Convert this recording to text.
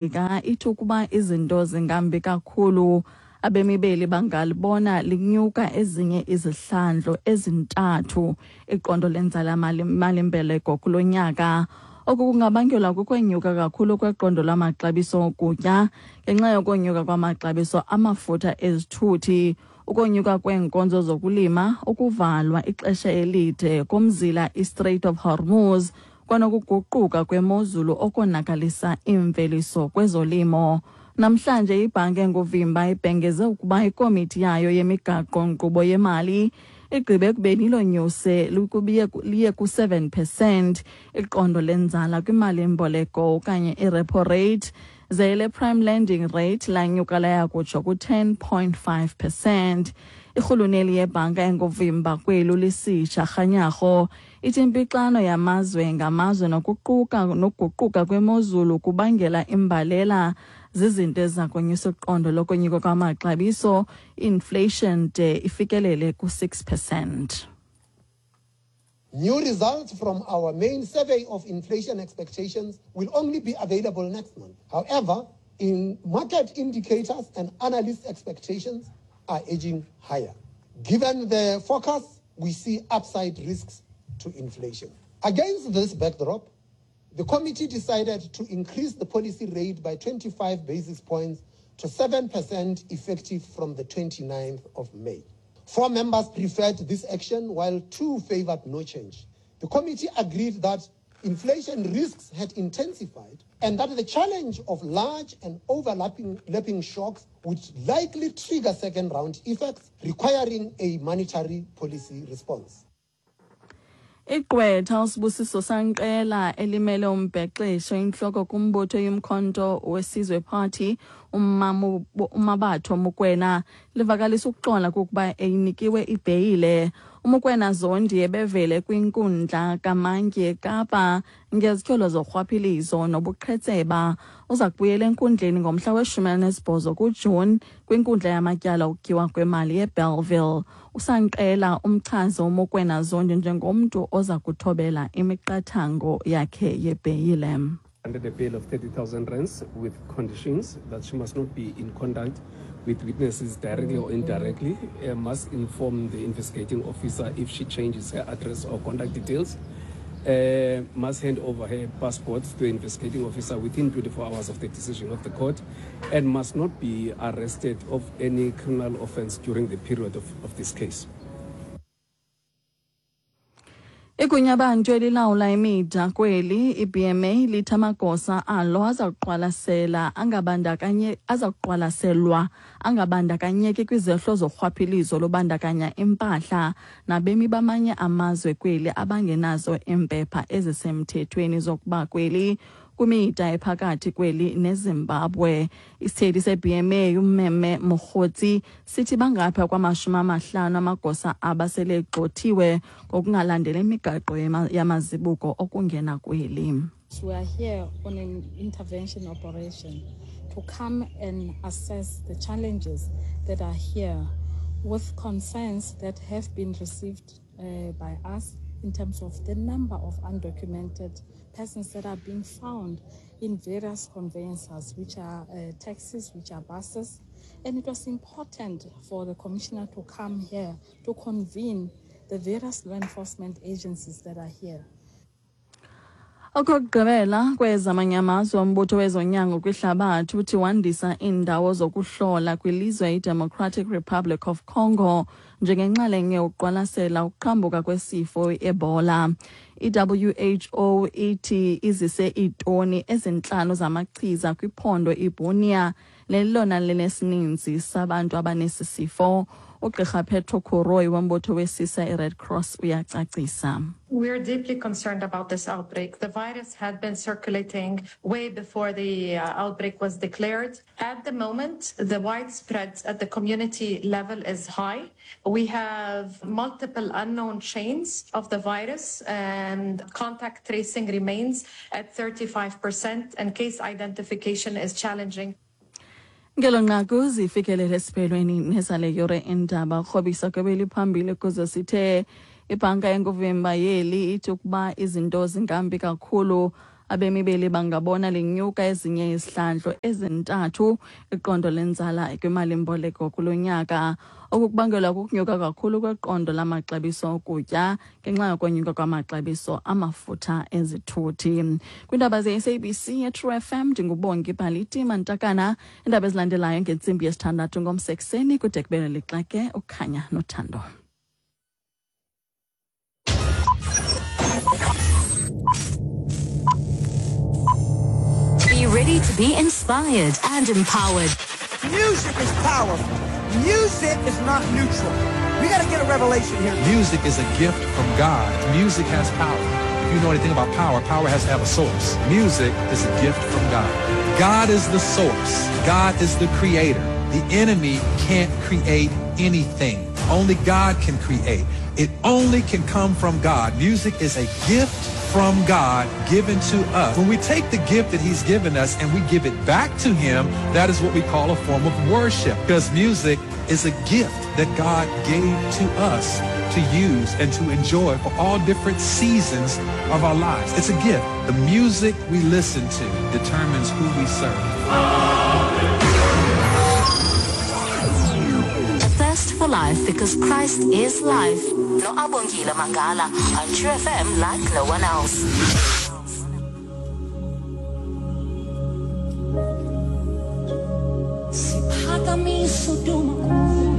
Melika ithi ukuba izinto zingambi kakhulu, abemi beli bangalibona linyuka ezinye izihlandlo ezintathu iqondo lenzala mali-mbeleko kulo nyaka. Oku kungabangelwa kukwenyuka kakhulu kweqondo lwamaxabiso okutya ngenxa yokonyuka kwamaxabiso amafutha ezithuthi, ukonyuka kweenkonzo zokulima, ukuvalwa ixesha elide komzila iStrait of Hormuz kwanokuguquka kwemozulu okonakalisa iimveliso kwezolimo. Namhlanje ibhanki enguvimba ibhengeze ukuba ikomiti yayo yemigaqo-nkqubo yemali igqibe ekubeni ilonyuse liye ku-7 percent iqondo lenzala kwimali-mboleko okanye i-repo rate, ze ele-prime lending rate lanyuka laya kutsho ku-10.5 percent. Irhuluneli yebhanka enguvimba kweli uLesisha Kganyago ithi impixano yamazwe ngamazwe nokuquka nokuguquka kwemozulu kubangela imbalela zizinto eziza konyusa iqondo lokonyuka kwamaxabiso, inflation, de ifikelele ku-6 percent. New results from our main survey of inflation expectations will only be available next month. However, in market indicators and analyst expectations are edging higher. Given the forecast, we see upside risks to inflation. Against this backdrop, the committee decided to increase the policy rate by 25 basis points to 7% effective from the 29th of May. 4 members preferred this action, while 2 favored no change. The committee agreed that inflation risks had intensified and that the challenge of large and overlapping lapping shocks would likely trigger second round effects, requiring a monetary policy response. Igqwetha uSibusiso Sanqela elimele umbhexesho inhloko kumbutho yomkhonto weSizwe Party uMabatho Mokoena livakalisa ukuxola kokuba eyinikiwe ibheyile. UMokoena Zondi ebevele kwinkundla kaMantyi eKapa ngezityholo zorhwaphilizo nobuqhetseba. Uza kubuyela enkundleni ngomhla we-18 kuJuni kwinkundla yamatyala okutyiwa kwemali eBellville. USanqela umchaze uMokoena Zondi njengomntu oza kuthobela imiqathango yakhe yebheyile. Under the bail of 30,000 rands with conditions that she must not be in contact with witnesses directly or indirectly, must inform the investigating officer if she changes her address or contact details, must hand over her passport to the investigating officer within 24 hours of the decision of the court, and must not be arrested of any criminal offense during the period of this case. Igunyabantu elilawula imida kweli iBMA lithi amagosa alo aza kuqwalasela angabandakanye aza kuqwalaselwa angabandakanyeki kwizehlo zorhwaphilizo lobandakanya impahla nabemi bamanye amazwe kweli abangenazo iimpepha ezisemthethweni zokuba kweli kwimida ephakathi kweli neZimbabwe. Isithethi se-BMA uMeme Mogotsi sithi bangapha kwama-50 amagosa abasele egxothiwe ngokungalandeli imigaqo yamazibuko okungena kweli. We are here on an intervention operation to come and assess the challenges that are here with concerns that have been received by us in terms of the number of undocumented persons that are being found in various conveyances, which are taxis, which are buses. And it was important for the commissioner to come here to convene the various law enforcement agencies that are here. Okokugqibela kwezamanye amazwe, umbutho wezonyango kwihlabathi uthi wandisa iindawo zokuhlola kwilizwe iDemocratic Republic of Congo njengenxalenye yokuqwalasela ukuqhambuka kwesifo i-Ebola. I-WHO ithi izise iitoni 5 zamachiza kwiphondo iBunia nelilona linesininzi sabantu abanesi sifo. Ugqirha Petro Kuroi wombutho wesisa iRed Cross uyacacisa. We are deeply concerned about this outbreak. The virus had been circulating way before the outbreak was declared. At the moment, the widespread at the community level is high. We have multiple unknown chains of the virus, and contact tracing remains at 35%, and case identification is challenging. Ngelo nqaku zifikelele esiphelweni nezale yure indaba. Krobisa kwebeli phambili kuze sithe ibhanka enguvimba yeli ithi ukuba izinto zingambi kakhulu, Abemi beli bangabona linyuka ezinye izihlandlo ezintathu iqondo lenzala kwimalimboleko kulo nyaka. Oku kubangelwa kukunyuka kakhulu kweqondo lamaxabiso okutya ngenxa yokonyuka kwamaxabiso amafutha ezithuthi. Kwiindaba ze-SABC yeTrue FM, ndinguBongi Bhaliti Mantakana. Iindaba ezilandelayo ngentsimbi yesithandathu ngomso ekuseni kude kube lixake ukhanya nothando. Be ready to be inspired and empowered. Music is powerful. Music is not neutral. We got to get a revelation here. Music is a gift from God. Music has power. If you know anything about power, power has to have a source. Music is a gift from God. God is the source. God is the creator. The enemy can't create anything. Only God can create. It only can come from God. Music is a gift from God given to us. When we take the gift that he's given us and we give it back to him, that is what we call a form of worship, because music is a gift that God gave to us to use and to enjoy for all different seasons of our lives. It's a gift. The music we listen to determines who we serve. A thirst for life, because Christ is life. No Abongile Mangala on True FM like no one else. Siphakamise udumo.